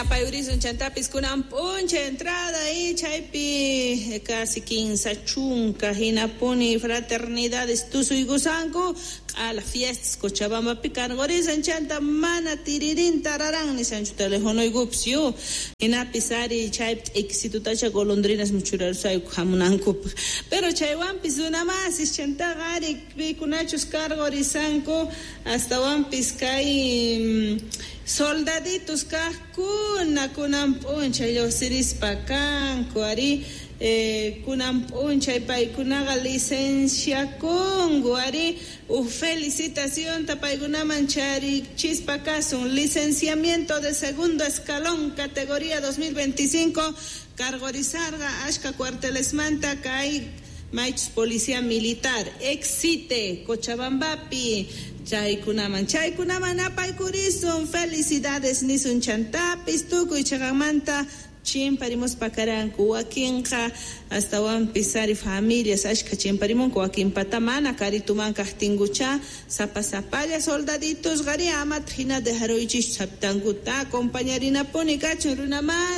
Apayurisun chantapis kunan p'unchay entrada y chaypi casi 30 hinapuni fraternidades tusuykusanku q'ala fiestas Cochabambapi karqurisan chanta mana tiririn tararan nisanchu telefonoykupis yu hinapis ari chaypi t'iksitutacha golondrinas muchurarusayku hamunankupaq pero chaywanpis runamasis chantaqa ari pikunachus karqurisanku astawanpis kay soldaditos kaqkuna kunan p'unchay lluqsirispa kanku ari kunan p'unchay paykunaqa licenciakunku ari uj felicitacionta paykunaman charichispa kasun licenciamiento de segundo escalón categoría 2025 karqurisarqa ashka cuartelesmanta kay maychus policía militar excite Cochabambapi chaykunaman chaykunaman apaykurisun felicidades nisun chantapis tukuy chaqanmanta chimparimuspa karanku wakinqa astawanpis ari familias ashka chimparimunku wakinpata mana karituman kaqtinkucha sapa sapalla soldaditos qari amataq hina dejaruychischu sapitankuta acompañarinapuni kachun runamas.